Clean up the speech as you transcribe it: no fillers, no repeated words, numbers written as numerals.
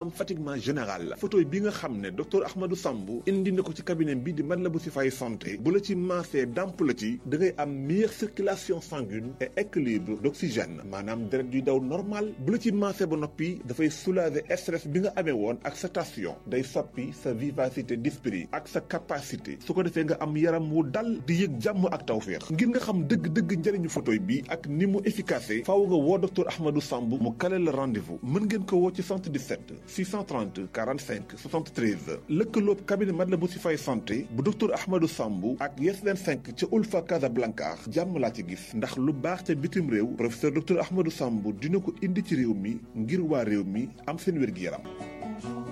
am fatiguement général photo bi nga xam ne docteur Ahmadou Samb indi na ko ci cabinet bi di Matlaboul Chifaay santé bu la ci maasee damp la ci da ngay am meilleure circulation sanguine et équilibre d'oxygène maanaam deret yuy daw normal bu la ci maasee ba noppi dafay soulager stress bi nga amee woon ak sa tension day soppi sa vivacité d'esprit ak sa capacité su ko defee nga am yaram wu dal di yëg jàmm ak tawféex ngir nga xam dëgg-dëgg njëriñu photo bi ak ni mu efficace faaw nga woo docteur Ahmadou Samb mu kale la rendez-vous mën ngeen ko woo ci 77 630 45 73 lëkkaloob cabinet Matlaboul Chifaay santé bu docteur Ahmadou Samb ak Yes 25 ca Ulfa Casablanca jàmm laa ci gis ndax lu baax ca bitim réew professeur docteur Ahmadou Samb dina ko indi ci réew mi ngir waa réew mi am seen wér-gi-yaram